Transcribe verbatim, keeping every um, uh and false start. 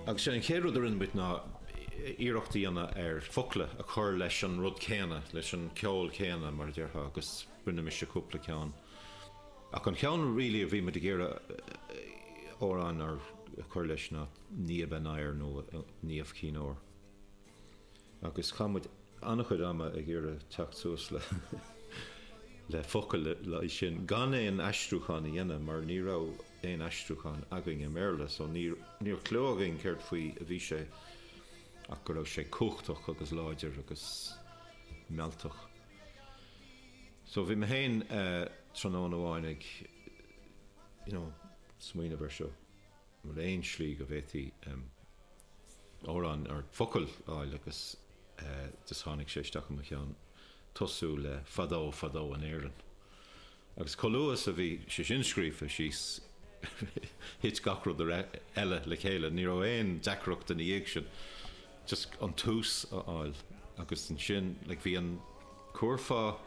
Agus sé an chéad rud a rinne muid ná iarracht a dhéanamh ar focla a chur leis an rud céanna, leis an ceol céanna mar a déarfá agus rinne mise cúpla ceann. Ach an ceann really a bhí muid ag iarraidh amhrán a chur leis ná Niamh Aniar nó Niamh Chinn Óir. Agus chaith muid an-chuid ama ag iarraidh teacht suas le le focail le sin gan aon aistriúchán a dhéanamh mar ní raibh aon aistriúchán againn i mBéarla, so ní raibh clue againn céard faoi a bhí sé ach go raibh sé cumhachtach agus láidir agus mealltach. So bhí mé féin uh, tráthnóna amháin ag you know, smaoineamh air seo bhfuil aon slí go bhféadfaí um, amhrán ar focail a fháil agus uh, just tháinig sé isteach i mo cheann tosú le fadó fadó in Éirinn. Agus chomh luath is a bhí sé sin scríofa síos thit gach rud eile le chéile, ní raibh aon deacracht ina dhiaidh sin. Just an tús a fháil agus ansin like, bhí an curfá